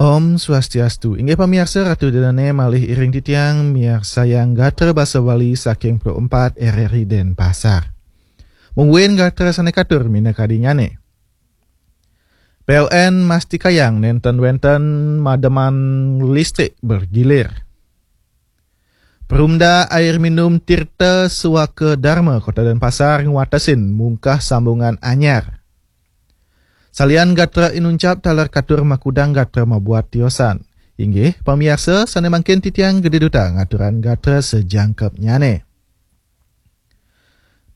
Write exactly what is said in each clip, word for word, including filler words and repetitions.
Om Swastiastu. Inggih pamiarsa, Ratu Dedane malih iring titiang miarsayang gatra basa Bali saking Pro empat R R I Denpasar. Mungguing gatra sane katur minakadinyane. P L N mastikayang nenten wenten mademan listrik bergilir. Perumda Air Minum Tirta Suaka Dharma Kota Denpasar ngwatesin mungkah sambungan anyar. Salian gatra inuncap taler katur makudang gatra mabuat tiosan. Inggih, pamiarsa sane mangkin titiang gede duta ngaturan gatra sejangkepnyane.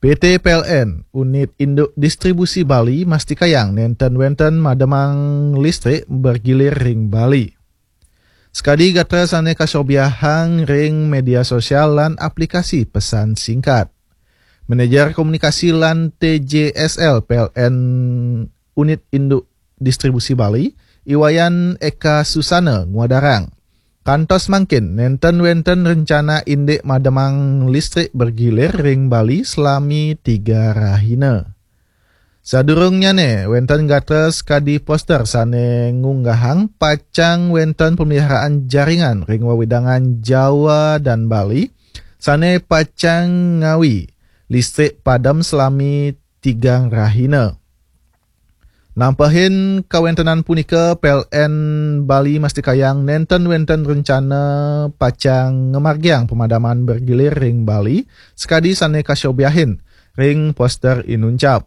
P T P L N, Unit Induk Distribusi Bali, mastikayang nenten wenten mademang listrik bergilir ring Bali. Sekadi gatra sane kasobiahang ring media sosial lan aplikasi pesan singkat. Manajer Komunikasi lan T J S L P L N Unit Induk Distribusi Bali, Iwayan Eka Susana ngwadarang. Kantos mangkin nenten wenten rencana indik mademang listrik bergilir ring Bali selami tiga rahina. Sadurungnyane, wenten gatra kadi poster sane ngunggahang pacang wenten pemeliharaan jaringan ring wewidangan Jawa dan Bali sane pacang ngawi listrik padem selami tigang rahina. Nampehin kawentenan punika, P L N Bali mastikayang nenten wenten rencana pacang ngamargiang pemadaman bergilir ring Bali, sekadi sane kasobiahin ring poster inuncap.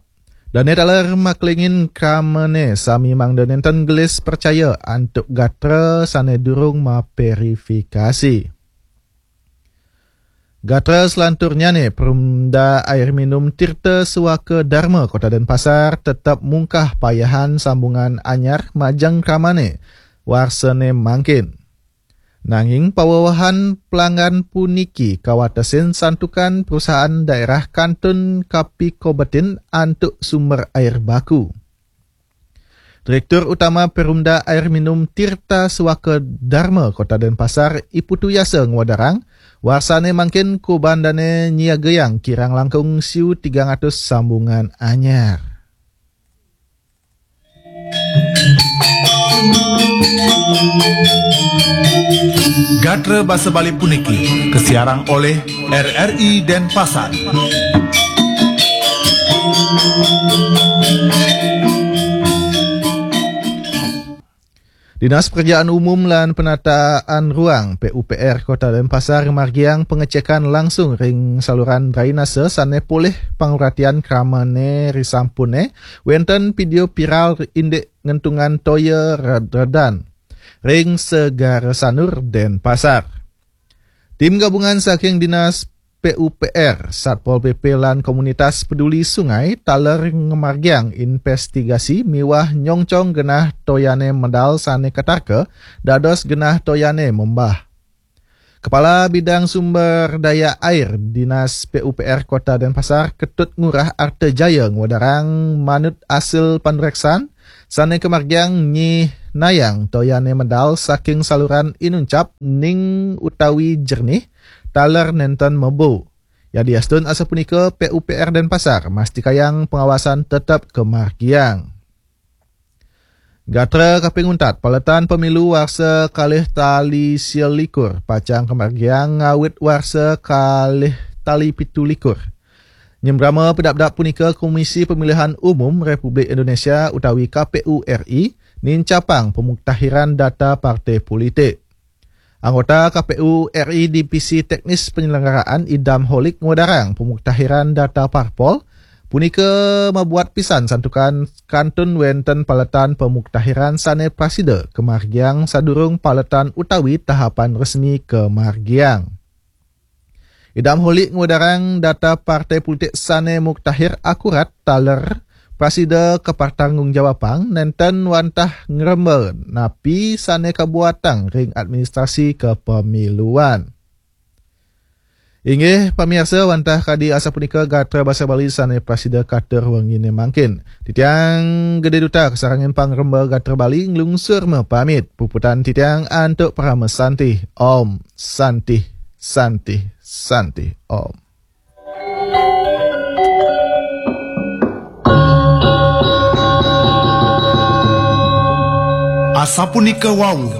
Dane taler maklingin kramane sami mangda nenten gelis percaya antuk gatra sane durung maperifikasi. Gatra selanturnyane, Perumda Air Minum Tirta Suaka Dharma Kota Denpasar tetep mungkah payahan sambungan anyar majeng kramane warsane mangkin. Nanging pawewehan pelanggan puniki kawatesin santukan perusahaan daerah kantun kapikobetin antuk sumber air baku. Direktur Utama Perumda Air Minum Tirta Suaka Dharma Kota Denpasar, I Putu Yasa ngwadarang, warsane mangkin kuban dane nyiagayang kirang langkung siu tigang atus sambungan anyar. Gatra basa Bali puniki kasiarang olih R R I Denpasar. Dinas Pekerjaan Umum lan Penataan Ruang, P U P R, Kota Denpasar margiang pengecekan langsung ring saluran drainase sane polih panguratian kramane risampune wenten video viral indik ngentungan toya red-redan ring Segara Sanur, Denpasar. Tim gabungan saking Dinas P U P R, Satpol P P lan komunitas peduli sungai taler ngamargiang investigasi miwah nyongcong genah toyane medal sane katarka dados genah toyane membah. Kepala Bidang Sumber Daya Air Dinas P U P R Kota Denpasar, Ketut Ngurah Arta Jaya, ngwedarang manut asil panreksan sane kamargiang nyihnayang toyane medal saking saluran inuncap ning utawi jernih taler nenten mebo. Yadiastun asapunika, P U P R Denpasar mastikayang pengawasan tetep kamargiang. Gatra kaping untat, paletan pemilu warsa kalih tali sia likur pacang kamargiang ngawit warsa kalih tali pitu likur. Nyembrama pidabdab punika, Komisi Pemilihan Umum Republik Indonesia utawi K P U R I nincapang pemuktahiran data partai politik. Anggota K P U R I Divisi Teknis Penyelenggaraan, Idam Holik, ngwedarang pemuktahiran data parpol punika mabuat pisan santukan kantun wenten paletan pemuktahiran sane prasida kamargiang sadurung paletan utawi tahapan resmi kamargiang. Idam Holik ngwedarang data partai politik sane muktahir akurat taler prasida kapertanggungjawabang nenten wantah ngremba napi sane kabuatang ring administrasi kepemiluan. Inggih pamiarsa, wantah kadi asapunika gatra basa Bali sane prasida katur wengine mangkin. Titiang Gede Duta kasarengin pangremba gatra Bali nglungsur mapamit. Puputan titiang antuk parama santih. Om Santih, Santih, Santih, Om. Sapunica Wau.